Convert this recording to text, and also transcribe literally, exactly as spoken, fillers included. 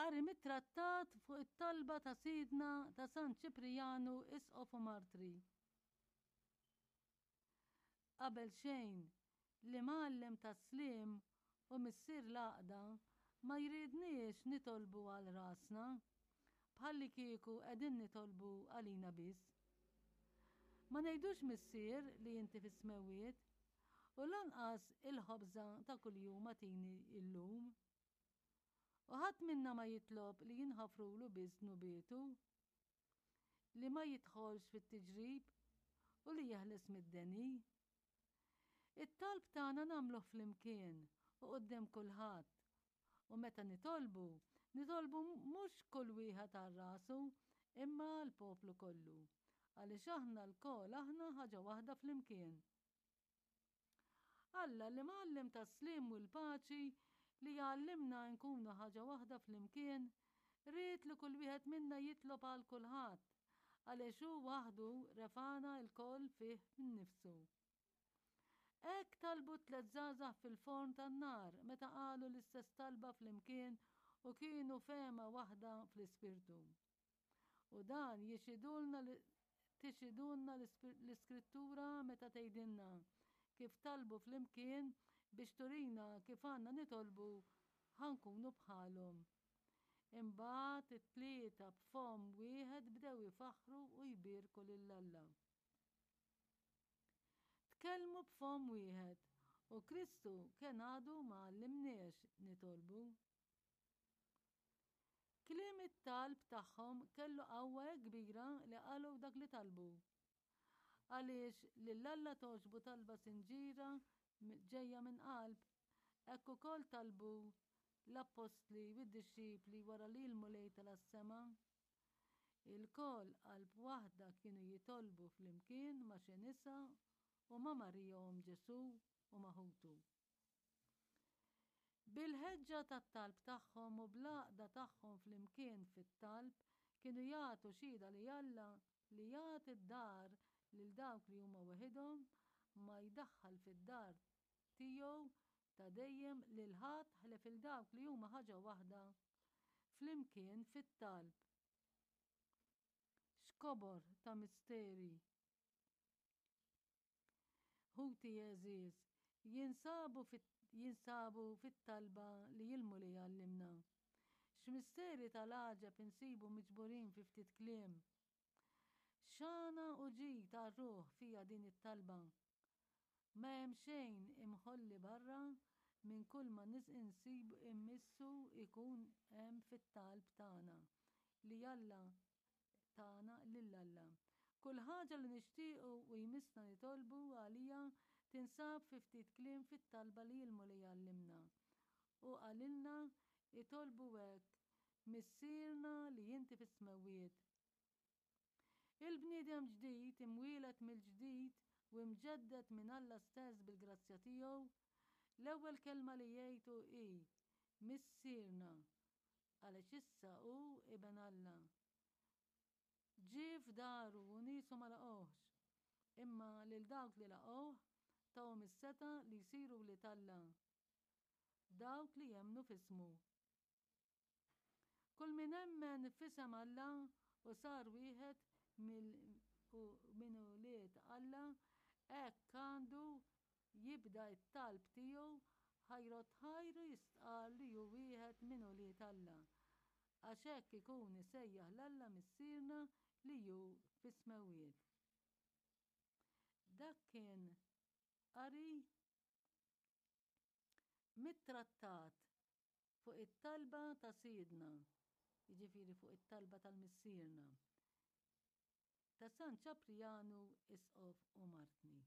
Qari mit-trattat fuq it-talba ta' Sidna ta' San Ċiprijanu Isqof u Martri. Qabel xejn, l-imgħallem tas-sliem u missier l-għaqda ma jridniex nitolbu għal rasna, bħallikieku qegħdin nitolbu għalina biss. Ma ngħidux Missier li inti fis-smewwiet, u lanqas il-ħobża ta' kuljum agħtini illum. U ħadd minna ma jitlob li jinħafrulu biss dnubietu, li ma jidħolx fit-tiġrib u li jeħles mid-deni. It-talb tagħna nagħmluh flimkien u quddiem kulħadd. U meta nitolbu, nitolbu mhux kull wieħed għal rasu, imma l-poplu kollu. Għaliex aħna lkoll aħna ħaġa waħda flimkien. Alla l-imgħallem tas-sliem u l-paċi li jgħallimna nkunu ħaġa waħda flimkien, ried li kull wieħed minna jitlob għal kulħadd, għaliex hu waħdu refagħna lkoll fih innifsu. Hekk talbu tliet żgħażagħ fil-forn tan-nar meta qalu l-istess talba flimkien u kienu fehma waħda fl-ispirtu. U dan jixhidulna tixhidulna l-Iskrittura meta tgħidilna kif talbu flimkien biex turina kif għandna nitolbu ħa nkunu bħalhom. Imbagħad it-tlieta b'fomm wieħed bdew ifaħħru u jbierku lil Alla. Tkellmu b'fomm wieħed u Kristu kien għadu ma għallimniex nitolbu. Kliem it-talb tagħhom kellu qawwa kbira li qalu dak li talbu. Għaliex lil Alla togħġbu talba sinċiera ġejja minn qalb, hekk ukoll talbu l-appostli u d-dixxipli wara li l-Mulej tela' s-sema. Ilkoll qalb waħda kienu jitolbu flimkien ma' xi nisa u ma' Marija omm Ġesù u ma' ħutu. Bil-ħeġġa tat-talb tagħhom u bl-għaqda tagħhom flimkien fit-talb kienu jagħtu xhieda li Alla li jagħti d-dar lil dawk li huma weħidhom ma jdaħħal fid-dar tiegħu ta' dejjem lil ħadd ħlief il dawk li huma ħaġa waħda flimkien fit-talb. X'kobor ta' misteri! Ħuti għeżież, jinsabu jinsabu fit-talba li l-Mulej għallimna. X'misteri tal-għaġeb insibu miġburin fi ftit kliem. X'għana u ġid għar-ruħ fiha din it-talba. Ma hemm xejn imħolli barra minn kull ma insib immissu ikun hemm fit-talb tagħna li Alla tagħna lil Alla. Kull ħaġa li nixtiequ u jmissna nitolbu għalija tinsab fi ftit kliem fit-talba li l-Mulej għallimna. U qalilna itolbu hekk Missierna li inti fis-smewwiet. Il-bniedem ġdid imwieled mill-ġdid u imġedded minn Alla stess bil-grazzja tiegħu, l-ewwel kelma li jgħidu hi Missierna, għaliex issa hu iben Alla. Ġie f'daru u niesu ma laqgħuhx, imma lil dawk li laqgħuh tahom is-setgħa li jsiru wlied Alla. Dawk li jemmnu f'ismu. Kull min emmen f'isem Alla u sar wieħed minn ulied Alla, hekk għandu jibda t-talb tiegħu ħa jrodd ħajru jistqarr li hu wieħed minn ulied Alla, għax hekk ikun isejjaħ 'l Alla Missierna li hu fis-smewwiet. Dak kien qari mit-trattat fuq it-talba ta' Sidna, jiġifieri fuq it-talba tal-Missierna, ta' San Ċaprijanu Isqof u Martni.